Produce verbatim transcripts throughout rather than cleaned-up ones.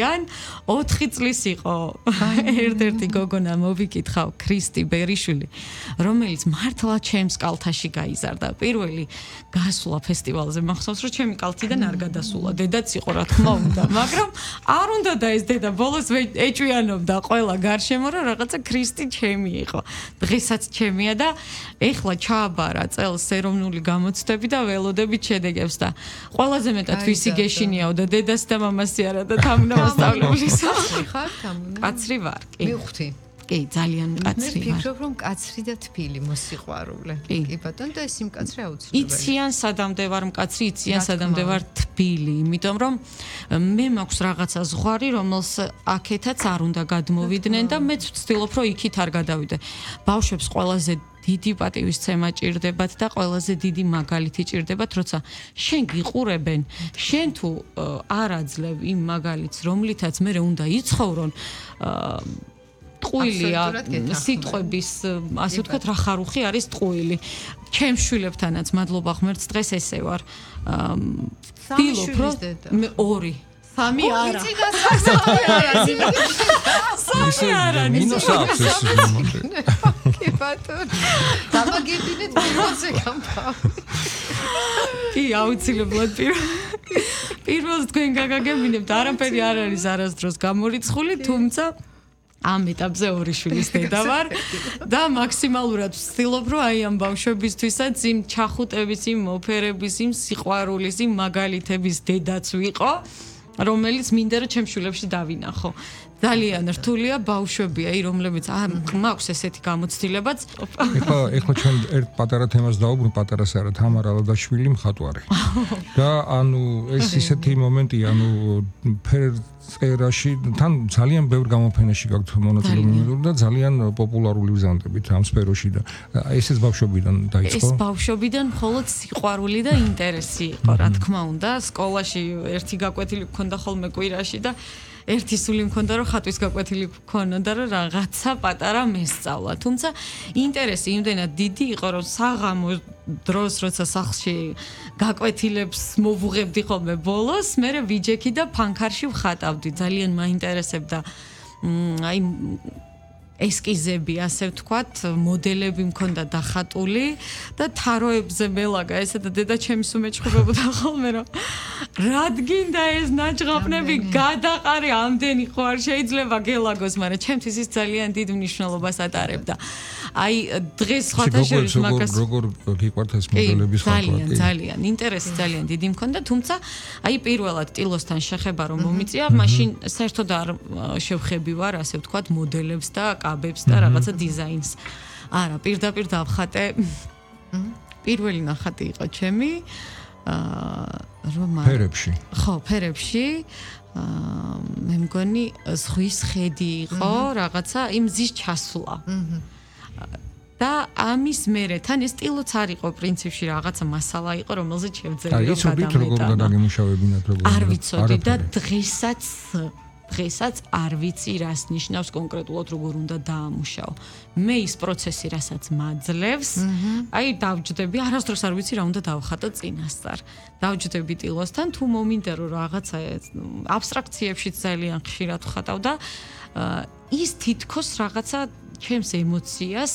ან ოთხი წლის იყო ერთ-ერთი გოგონა მოვიკითხავ ქრისტი ბერიშვილი რომელიც მართლა ჩემს კალთაში გაიზარდა პირველი გასვლა ფესტივალზე მახსოვს რომ ჩემი კალთიდან არ გადასულა დედაც იყო რა თქმა უნდა მაგრამ არ უნდა და ეს დედა ბოლოს ეჭვიანობდა ყველა გარშემო რომ რაღაცა ქრისტი ჩემი იყო დღესაც ჩემია და ეხლა ჩააბარა წელს ეროვნული გამოცდები და ველოდებით შედეგებს და ყველაზე მეტად ვისი გეშინიაოდა დედას და მამასი არა და თამუნა მასწავლებლის ხარ თამუნა კაცრი ვარ კი მივხვდი კი ძალიან კაცრი ვარ ფიქრობ რომ კაცრი და თბილი მოსიყვარულე კი ბატონო და ეს იმ კაცრი აუცილებელი იციან სადამდე ვარ მკაცრი იციან სადამდე ვარ თბილი იმიტომ რომ მე მაქვს რაღაცა ზღვარი რომელს აქეთაც არ უნდა გადმოვიდნენ და მეც ვცდილობ რომ იქით არ გადავიდე ბავშვებს ყველაზე დიდი პატივისცემა ჭირდებათ და ყველაზე დიდი მაგალითი ჭირდებათ, როცა შენ გიყურებენ, შენ თუ არ აძლევ იმ მაგალითს, რომლითაც მე უნდა იცხოვრონ, ტყუილია სიტყვების, ასე ვთქვათ, რა ხარუხი არის ტყუილი. ჩემ შვილებთანაც მადლობა ღმერთს დღეს ესე ვარ. ვთილობ, რომ მე ორი სამი არა. იცი და სამი არა. სამი არა. მინუს აქვს ეს მომენტი. კი ბატონო. დამაგებინეთ პირველზე გამბავი. კი, აუცილებლად პირველ. პირველს თქვენ გაგაგებინებთ, არაფერი არ არის არასდროს გამორიცხული, თუმცა ამ ეტაპზე ორი შვილის დედა ვარ და მაქსიმალურად ვცდილობ რომ აი ამ ბავშვებისთვისაც იმ ჩახუტების, იმ მოფერების, იმ სიყვარულის, იმ მაგალითების დედაც ვიყო, რომელიც მინდა რომ ჩემ შვილებში დავინახო. ძალიან რთულია ბავშვებია, აი რომლებიც მაქვს ესეთი გამოცდილებაც. ეხლა ეხლა ჩვენ ერთ პატარა თემას დავუბრუნ, პატარას არა, თამარ ალადაშვილი მხატვარი. და ანუ ეს ისეთი მომენტია, ანუ ფერწერაში თან ძალიან ბევრ გამოფენაში გაქვთ მონაწილეობა და ძალიან პოპულარული ვზანდებით ამ სფეროში და ესეც ბავშვობიდან დაიწყო. ეს ბავშვობიდან მხოლოდ სიყვარული და ინტერესი იყო, რა თქმა უნდა, სკოლაში ერთი გაკვეთილი მქონდა ხოლმე კვირაში და ერთი სული მქონდა რომ ხატვის გაკვეთილი მქონოდა რომ რაღაცა პატარა მესწავლა. თუმცა ინტერესი იმდენად დიდი იყო რომ საღამო დროს როცა სახლში გაკვეთილებს მოვუღებდი ხოლმე ბოლოს, მე ვიჯექი და ფანქარში ვხატავდი. ძალიან მაინტერესებდა აი ესკიზები, ასე ვთქვათ, მოდელები მქონდა დახატული და თაროებზე მელაგა ესა და დედა ჩემი სუმეჭხებოდა ხოლმე რომ რადგინდა ეს ნაჭღაპნები გადაყარი ამდენი ხო არ შეიძლება გელაგოს, მაგრამ ჩემთვის ის ძალიან დიდ მნიშვნელობას ატარებდა. აი დღეს სხვათა შორის მაგას როგორ გიყვართ ეს მოდელების ხატვა? ძალიან ძალიან ინტერესი ძალიან დიდი მქონდა, თუმცა აი პირველად ტილოსთან შეხება რომ მომიწია, მაშინ საერთოდ არ შევხები ვარ, ასე ვთქვათ, მოდელებს და კაბებს და რაღაცა დიზაინს. არა, პირდაპირ დავხატე. პირველი ნახატი იყო ჩემი აა რომ ფერებში. ხო, ფერებში. აა მე მგონი ზღვის ხედი იყო, რაღაცა იმ ზის ჩასვლა. და ამის მერე თან ეს სტილოც არ იყო პრინციპში რაღაცა მასალა იყო რომელზეც შევძელი რომ გადამეტანა. როგორ დაგემუშავებინათ როგორ? არ ვიცოდი და დღესაც დღესაც არ ვიცი რას ნიშნავს კონკრეტულად როგორ უნდა დაამუშავო. მე ის პროცესი რასაც მაძლევს, აი დავჯდები, არასდროს არ ვიცი რა უნდა დავხატო წინასწარ. დავჯდები ტილოსთან თუ მომინდა რომ რაღაცა აბსტრაქციებშიც ძალიან ხშირად ვხატავ და ის თითქოს რაღაცა ჩემს ემოციას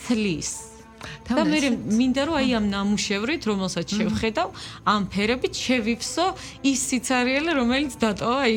თლის. და მე მინდა რომ აი ამ ნამუშევრით, რომელსაც შევხედავ, ამ ფერებით შევიფსო ის სიცარიელე, რომელიც დატოვა აი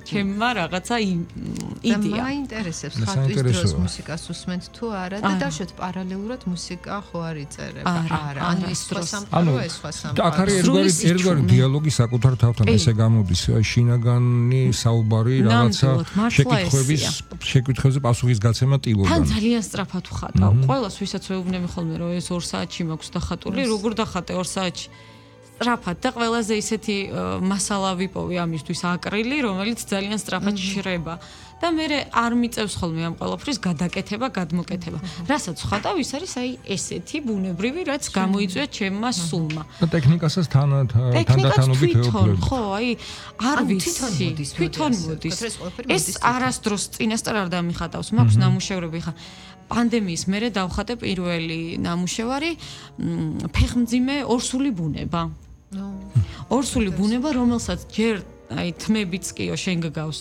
ჩემმა რაღაცა იდეა. და მაინტერესებს ხატვის დროს მუსიკას უსმენთ თუ არა და დავშოთ პარალელურად მუსიკა ხო არ იწერება? არა, ანუ ის სხვა სამყარო, ეს სხვა სამყარო. აქ არის ერთგვარი ერთგვარი დიალოგი საკუთარ თავთან, ესე გამოდის შინაგანი საუბარი რაღაცა შეკითხვების შეკითხვებზე პასუხის გაცემა ტილოდან. თან ძალიან სწრაფად ვხატავ. ყველას ვისაც ვეუბნები ხოლმე რომ ეს ორ საათში მაქვს დახატული, როგორ დახატე ორ საათში? სწრაფად და ყველაზე ისეთი მასალა ვიპოვე ამისთვის აკრილი, რომელიც ძალიან სწრაფად შრება. და მე არ მიწევს ხოლმე ამ ყველაფრის გადაკეთება, გადმოკეთება. რასაც ვხატავ, ის არის აი ესეთი ბუნებრივი, რაც გამოიწვია ჩემმა სულმა. და ტექნიკასაც თან თანდათანობით ეუფლებ. ხო, აი არ ვიცი, თვითონ მოდის. ეს არასდროს წინასწარ არ დამიხატავს, მაქვს ნამუშევრები ხა პანდემიის მერე დავხატე პირველი ნამუშევარი ფეხმძიმე ორსული ბუნება. ორსული ბუნება, რომელსაც ჯერ აი თმებიც კიო შენ გგავს